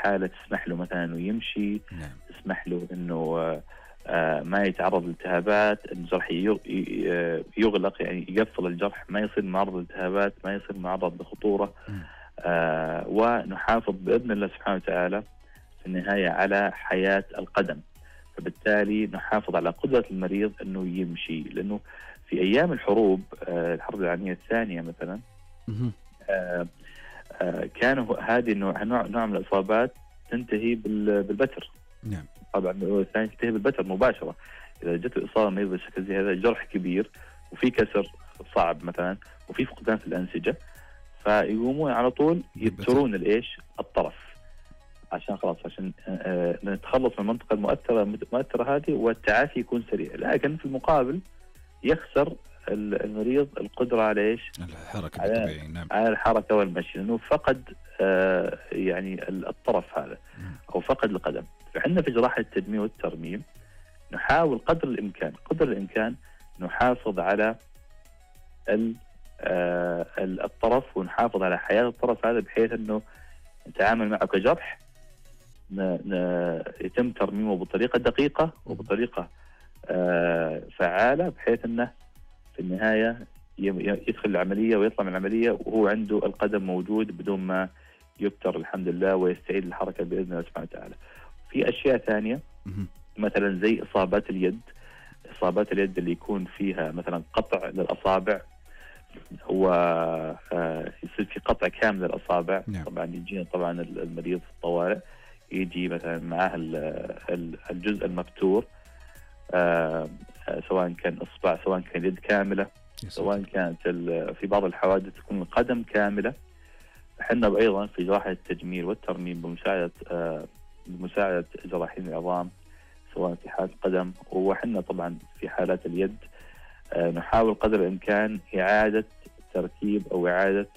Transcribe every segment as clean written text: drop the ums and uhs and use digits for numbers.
حالة تسمح له مثلا إنه يمشي، تسمح له إنه ما يتعرض لالتهابات، الجرح يغلق، يعني يقفل الجرح، ما يصير معرض لالتهابات، ما يصير معرض لخطورة. ونحافظ بإذن الله سبحانه وتعالى في النهاية على حياة القدم. فبالتالي نحافظ على قدرة المريض أنه يمشي، لأنه في أيام الحروب، الحرب العالمية الثانية مثلا، كانوا هذه نوع من الإصابات تنتهي بالبتر. نعم. طبعا الثانية تنتهي بالبتر مباشرة. إذا جت الإصابة مريض بالشكل زي هذا، جرح كبير وفي كسر صعب مثلا وفي فقدان في الأنسجة، فيقومون على طول يبترون الطرف عشان خلاص، عشان نتخلص من المنطقة المؤثرة هذه والتعافي يكون سريع. لكن في المقابل يخسر المريض القدرة على الحركة الطبيعية. نعم. على الحركة والمشي، لأنه فقد يعني الطرف هذا أو فقد القدم. فعندنا في جراحة التجميل والترميم نحاول قدر الإمكان نحافظ على الطرف ونحافظ على حياة الطرف هذا، بحيث أنه نتعامل معه كجرح يتم ترميمه بطريقة دقيقة وبطريقة فعالة، بحيث أنه في النهاية يدخل العملية ويطلع من العملية وهو عنده القدم موجود بدون ما يبتر الحمد لله، ويستعيد الحركة بإذن الله سبحانه وتعالى. في أشياء ثانية مثلا زي إصابات اليد اللي يكون فيها مثلا قطع للأصابع، ويصير في قطع كامل للأصابع. طبعا يجينا طبعا المريض في الطوارئ يجي مثلا معاه الجزء المبتور، سواء كان إصبع، سواء كان يد كاملة، سواء كانت في بعض الحوادث تكون القدم كاملة. احنا أيضا في جراحة التجميل والترميم بمساعدة جراحين العظام، سواء في حالة القدم وحنا طبعا في حالات اليد، نحاول قدر الإمكان إعادة تركيب أو إعادة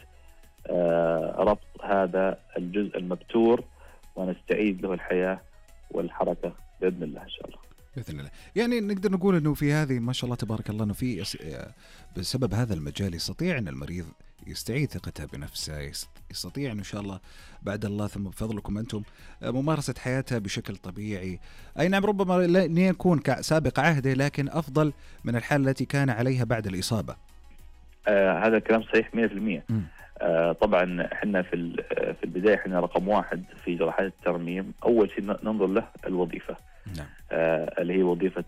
ربط هذا الجزء المبتور، ونستعيد له الحياة والحركة بإذن الله إن شاء الله. بإذن الله. يعني نقدر نقول أنه في هذه ما شاء الله تبارك الله، أنه في بسبب هذا المجال يستطيع أن المريض يستعيد ثقته بنفسه، يستطيع إن شاء الله بعد الله ثم بفضلكم أنتم ممارسة حياته بشكل طبيعي. أي نعم، ربما لا يكون كسابق عهده، لكن أفضل من الحالة التي كان عليها بعد الإصابة. هذا الكلام صحيح 100%. طبعا احنا في البداية احنا رقم 1 في جراحات الترميم، أول شيء ننظر له الوظيفة. نعم. اللي هي وظيفة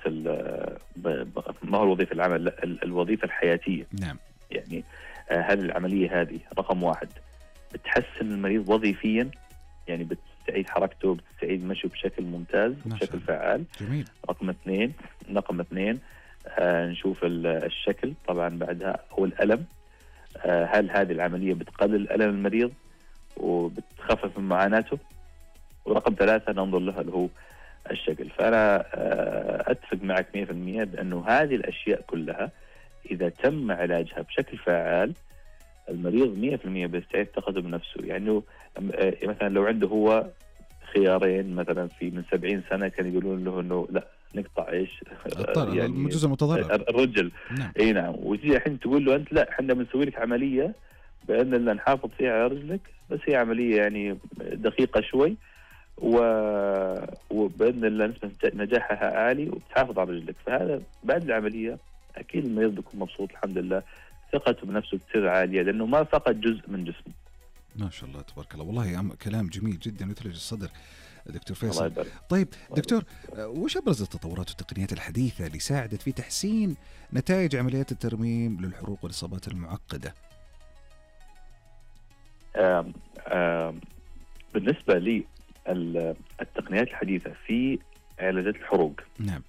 ما هو الوظيفة العمل، لا، الوظيفة الحياتية. نعم. يعني هذه العملية هذه رقم 1 بتحسن المريض وظيفيا، يعني بتستعيد حركته، بتستعيد مشيه بشكل ممتاز، بشكل فعال. جميل. رقم اثنين نشوف الشكل طبعا بعدها، هو الألم. هل هذه العملية بتقلل ألم المريض وبتخفف من معاناته؟ ورقم 3 ننظر له اللي هو الشكل. فأنا أتفق معك 100% بأنه هذه الأشياء كلها إذا تم علاجها بشكل فعال، المريض 100% بيستعيد ثقته بنفسه. يعني مثلا لو عنده هو خيارين، مثلا من 70 سنة كان يقولون له إنه لا نقطع يعني الجزء المتضرر الرجل. نعم. اي نعم. وتجي الحين تقول له انت لا، احنا بنسوي لك عمليه بان الله نحافظ فيها على رجلك، بس هي عمليه يعني دقيقه شوي وباذن الله نسبه نجاحها عالي وبتحافظ على رجلك. فهذا بعد العمليه اكيد المريض بيكون مبسوط الحمد لله، ثقته بنفسه كثير عاليه لانه ما فقد جزء من جسمه. ما شاء الله تبارك الله. والله كلام جميل جدا يثلج الصدر دكتور فيصل. طيب دكتور، وش أبرز التطورات والتقنيات الحديثة اللي ساعدت في تحسين نتائج عمليات الترميم للحروق والإصابات المعقدة؟ بالنسبة لي التقنيات الحديثة في علاجات الحروق، نعم،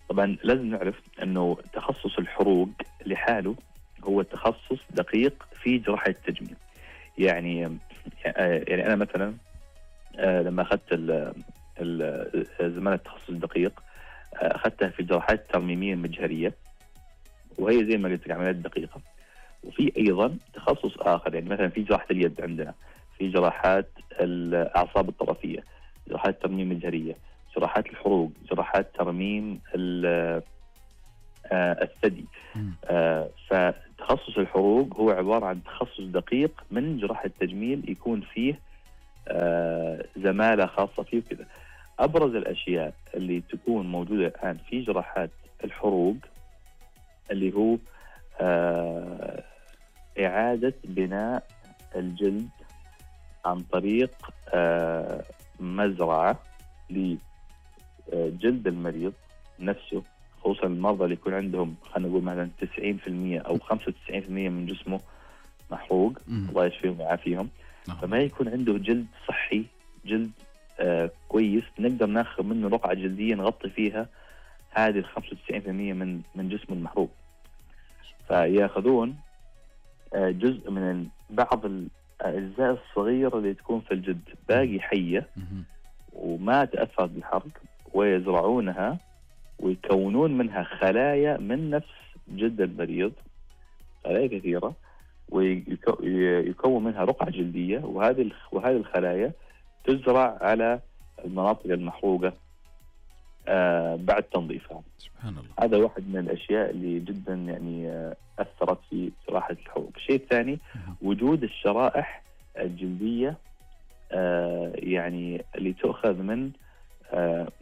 طبعا لازم نعرف أنه تخصص الحروق لحاله هو تخصص دقيق في جراحة التجميل. يعني أنا مثلا لما أخذت زمالة التخصص الدقيق أخذتها في الجراحات الترميمية المجهرية، وهي زي ما قلت لك عمليات دقيقة. وفي أيضا تخصص آخر، يعني مثلا في جراحة اليد عندنا، في جراحات الأعصاب الطرفية، جراحات ترميم مجهرية، جراحات الحروق، جراحات ترميم الثدي. فتخصص الحروق هو عبارة عن تخصص دقيق من جراحة التجميل، يكون فيه زمالة خاصة فيه وكذا. أبرز الأشياء اللي تكون موجودة الآن في جراحات الحروق اللي هو إعادة بناء الجلد عن طريق مزرعة لجلد المريض نفسه، خصوصا المرضى اللي يكون عندهم خلينا نقول مثلا 90% أو 95% من جسمه محروق، الله يشفيهم ويعافيهم. فما يكون عنده جلد صحي، جلد كويس نقدر ناخذ منه رقعة جلدية نغطي فيها هذه 95% من جسم المحروق. فياخذون جزء من بعض الأجزاء الصغيرة اللي تكون في الجلد باقي حية وما تأثرت بالحرق، ويزرعونها ويكونون منها خلايا من نفس جلد المريض، خلايا كثيرة، ويكون منها رقعة جلدية، وهذه الخلايا تزرع على المناطق المحروقة بعد تنظيفها. سبحان الله. هذا واحد من الأشياء اللي جدا يعني أثرت في جراحة الحروق. الشيء الثاني وجود الشرائح الجلدية يعني اللي تؤخذ من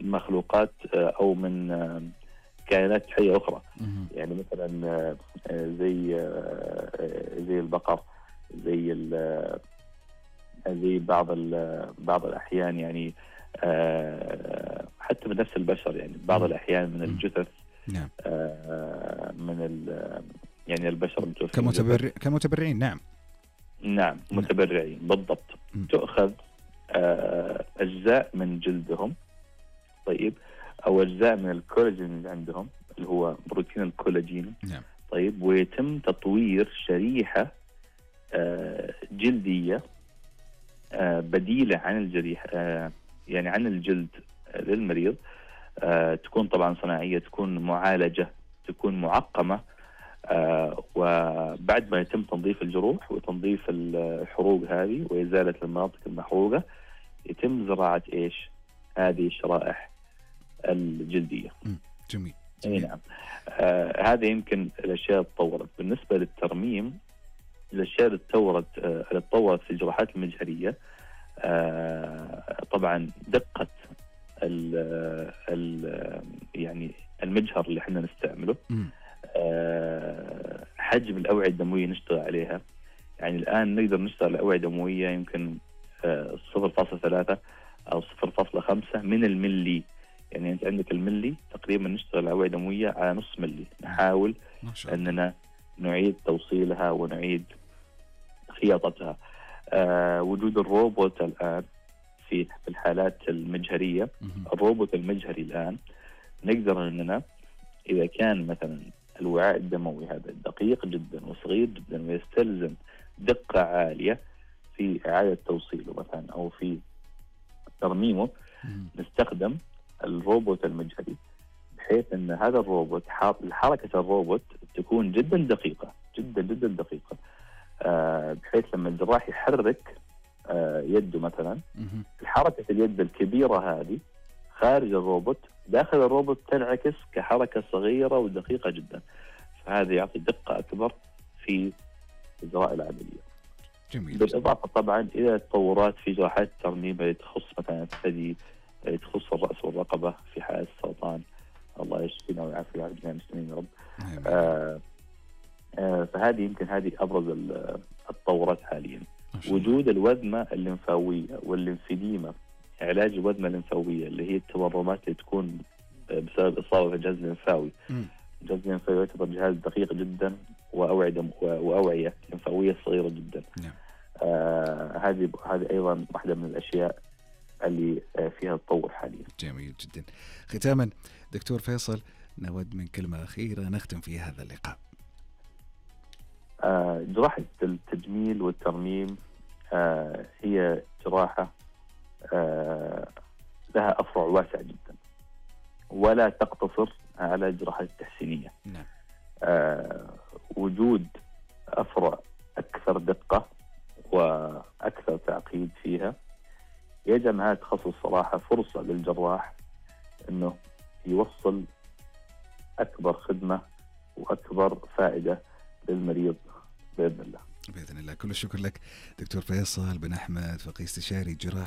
مخلوقات أو من كائنات حية أخرى، يعني مثلا زي البقر، زي بعض الأحيان يعني حتى من نفس البشر، يعني بعض الأحيان من الجثث، نعم. من يعني البشر كمتبرعين. نعم متبرعين بالضبط. تؤخذ أجزاء من جلدهم، طيب، أو أجزاء من الكولاجين اللي عندهم اللي هو بروتين الكولاجين، نعم. طيب، ويتم تطوير شريحة جلدية بديلة عن الجريح، يعني عن الجلد للمريض، تكون طبعا صناعية، تكون معالجة، تكون معقمة، وبعد ما يتم تنظيف الجروح وتنظيف الحروق هذه وإزالة المناطق المحروقة يتم زراعة إيش؟ هذه الشرائح الجلدية. جميل. نعم. هذه يمكن الأشياء اللي تطورت. بالنسبة للترميم، الأشياء اللي تطورت في الجراحات المجهرية، طبعا دقة يعني المجهر اللي احنا نستعمله، حجم الأوعية الدموية نشتغل عليها. يعني الآن نقدر نشتغل الأوعية الدموية يمكن 0.3 أو 0.5 من الملي. يعني أنت عندك الملي تقريبا نشتغل الأوعية الدموية على نص ملي، نحاول أننا نعيد توصيلها ونعيد خياطتها. وجود الروبوت الآن في الحالات المجهرية، الروبوت المجهري الآن نقدر أننا إذا كان مثلا الوعاء الدموي هذا دقيق جدا وصغير جدا ويستلزم دقة عالية في إعادة توصيله مثلا أو في ترميمه، نستخدم الروبوت المجهري، بحيث أن هذا الروبوت حركة الروبوت تكون جدا دقيقة، جدا جدا دقيقة، بحيث لما الجراح يحرك يده مثلا، الحركة اليد الكبيرة هذه خارج الروبوت داخل الروبوت تنعكس كحركة صغيرة ودقيقة جدا، فهذا يعطي دقة أكبر في إجراء العملية. جميل. بالإضافة طبعا إلى التطورات في جراحات الترميم اللي تخص مثلا الثدي، تخص الرأس والرقبة في حالة السرطان، الله يشفينا ويعافي جميع المسلمين يا رب. فهذه يمكن هذه أبرز التطورات حاليا. وجود الوذمة الليمفاوية والليمفيديما، علاج الوذمة الليمفاوية اللي هي التورمات اللي تكون بسبب إصابة في الجهاز الليمفاوي. الجهاز الليمفاوي يعتبر جهاز دقيق جدا وأوعية ليمفاوية صغيرة جدا. هذه أيضا واحدة من الأشياء اللي فيها تطور حاليا. جميل جدا. ختاما دكتور فيصل، نود من كلمة أخيرة نختم فيها هذا اللقاء. جراحة التجميل والترميم هي جراحة لها أفرع واسع جدا، ولا تقتصر على الجراحات التحسينية. نعم. وجود أفرع أكثر دقة وأكثر تعقيد فيها يجعل هذا التخصص صراحة فرصة للجراح أنه يوصل أكبر خدمة وأكبر فائدة للمريض بإذن الله. باذن الله. كل الشكر لك دكتور فيصل بن احمد، فقيه استشاري جراحه